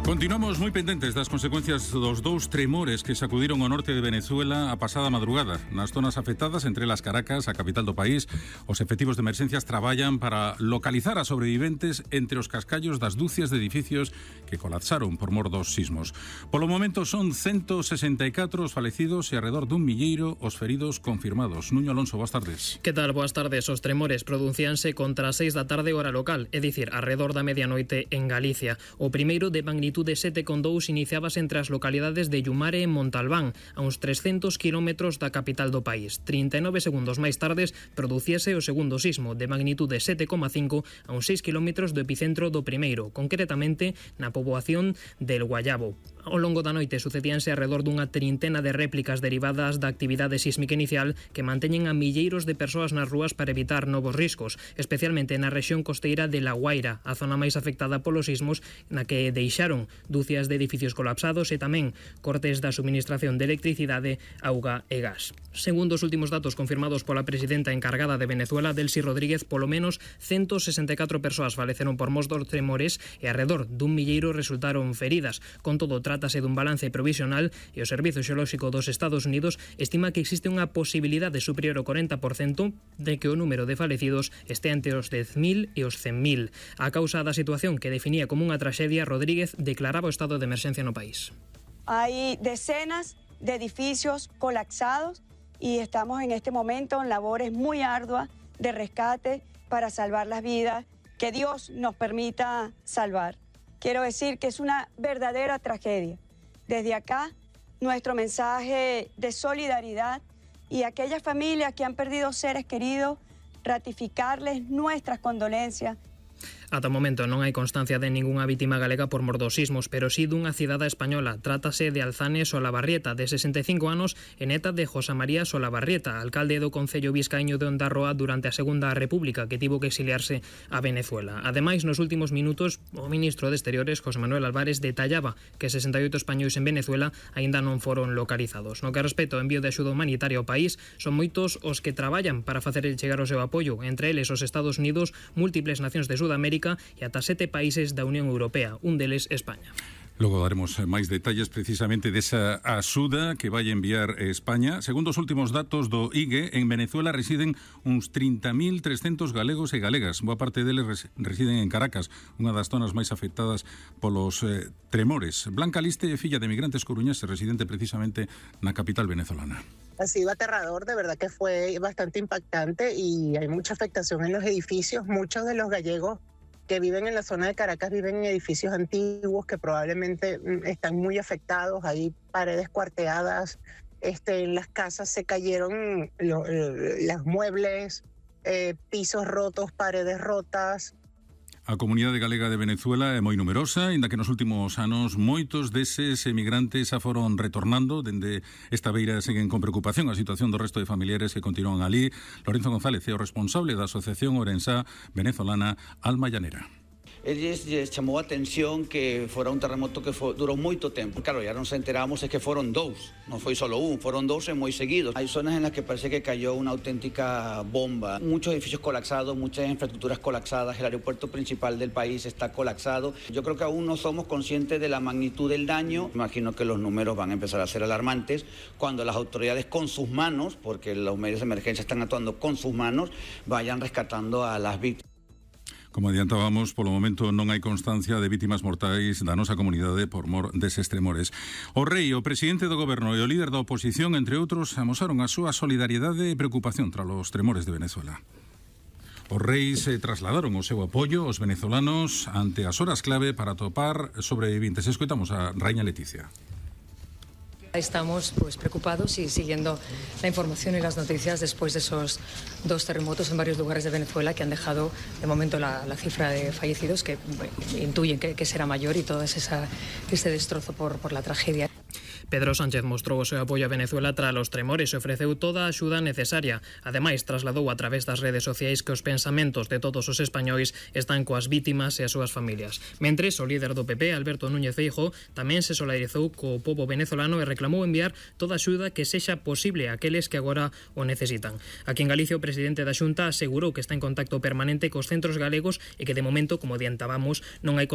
Continuamos moi pendentes das consecuencias dos dous tremores que sacudiron o norte de Venezuela a pasada madrugada. Nas zonas afectadas, entre las Caracas, a capital do país, os efectivos de emerxencias traballan para localizar a sobreviventes entre os cascallos das dúcias de edificios que colapsaron por mor dos sismos. Polo momento son 164 os falecidos e alrededor dun milleiro os feridos confirmados. Nuño Alonso, boas tardes. Que tal? Boas tardes. Os tremores producíanse contra as 6 da tarde hora local, é dicir, alrededor da medianoite en Galicia. O primeiro de magnitude 7,2 iniciábase entre as localidades de Yumare e Montalbán, a uns 300 kilómetros da capital do país. 39 segundos máis tardes producíase o segundo sismo, de magnitude 7,5 a uns 6 kilómetros do epicentro do primeiro, concretamente na poboación del Guayabo. Ao longo da noite sucedíanse alrededor dunha trintena de réplicas derivadas da actividade sísmica inicial que manteñen a milleiros de persoas nas rúas para evitar novos riscos, especialmente na rexión costeira de La Guaira, a zona máis afectada polos sismos, na que deixaron dúcias de edificios colapsados e tamén cortes da suministración de electricidade, auga e gas. Segundo os últimos datos confirmados pola presidenta encargada de Venezuela, Delcy Rodríguez, polo menos 164 persoas faleceron por mor dos tremores e alrededor dun milleiro resultaron feridas. Con todo, trátase dun balance provisional e o Servizo Xeolóxico dos Estados Unidos estima que existe unha posibilidade superior ao 40% de que o número de falecidos este entre os 10.000 e os 100.000. A causa da situación que definía como unha traxedia, Rodríguez declaraba o estado de emerxencia no país. Hay decenas de edificios colapsados y estamos en este momento en labores muy arduas de rescate para salvar las vidas que Dios nos permita salvar. Quiero decir que es una verdadera tragedia. Desde acá, nuestro mensaje de solidaridad y a aquellas familias que han perdido seres queridos, ratificarles nuestras condolencias. Ata o momento non hai constancia de ningunha vítima galega por mor dos sismos, pero sí dunha cidadá española. Trátase de Alzane Solabarrieta, de 65 anos, e neta de José María Solabarrieta, alcalde do concello vizcaíño de Ondarroa durante a Segunda República, que tivo que exiliarse a Venezuela. Ademais, nos últimos minutos, o ministro de Exteriores, José Manuel Álvarez, detallaba que 68 españois en Venezuela aínda non foron localizados. No que respecta ao envío de axuda humanitaria ao país, son moitos os que traballan para facer chegar o seu apoio, entre eles os Estados Unidos, múltiples nacións de Sudamérica e ata 7 países da Unión Europea, un deles España. Logo daremos máis detalles precisamente desa axuda que vai enviar España. Segundo os últimos datos do IGE, en Venezuela residen uns 30.300 galegos e galegas. Boa parte deles residen en Caracas, unha das zonas máis afectadas polos tremores. Blanca Liste é filla de migrantes coruñeses, residente precisamente na capital venezolana. Ha sido aterrador, de verdad que fue bastante impactante y hay mucha afectación en los edificios. Muchos de los gallegos que viven en la zona de Caracas viven en edificios antiguos que probablemente están muy afectados. Hay paredes cuarteadas, en las casas se cayeron los muebles, pisos rotos, paredes rotas. A comunidade galega de Venezuela é moi numerosa, inda que nos últimos anos moitos deses emigrantes xa foron retornando. Dende esta beira seguen con preocupación a situación do resto de familiares que continúan ali. Lorenzo González é o responsable da Asociación Orensá Venezolana Alma Llanera. Eles chamou a atención que fora un terremoto que durou moito tempo. Claro, ya nos enteramos es que foron dous, non foi solo un, foron dous e moi seguidos. Hai zonas en las que parece que cayó una auténtica bomba. Muchos edificios colapsados, muchas infraestructuras colapsadas, el aeropuerto principal del país está colapsado. Yo creo que aún no somos conscientes de la magnitud del daño. Imagino que los números van a empezar a ser alarmantes cuando las autoridades con sus manos, porque los medios de emergencia están actuando con sus manos, vayan rescatando a las víctimas. Como adiantábamos, polo momento non hai constancia de vítimas mortais da nosa comunidade por mor deses tremores. O rei, o presidente do goberno e o líder da oposición, entre outros, amosaron a súa solidariedade e preocupación tras os tremores de Venezuela. Os reis trasladaron o seu apoio aos venezolanos ante as horas clave para atopar sobrevivintes. Escoitamos a Raíña Leticia. Estamos preocupados y siguiendo la información y las noticias después de esos dos terremotos en varios lugares de Venezuela que han dejado de momento la cifra de fallecidos que intuyen que será mayor y todo ese destrozo por la tragedia. Pedro Sánchez mostrou o seu apoio a Venezuela tras os tremores e ofreceu toda a axuda necesaria. Ademais, trasladou a través das redes sociais que os pensamentos de todos os españois están coas vítimas e as súas familias. Mentres, o líder do PP, Alberto Núñez Feijóo, tamén se solidarizou co pobo venezolano e reclamou enviar toda a axuda que sexa posible a aqueles que agora o necesitan. Aquí en Galicia, o presidente da Xunta asegurou que está en contacto permanente cos centros galegos e que de momento, como adiantábamos, non hai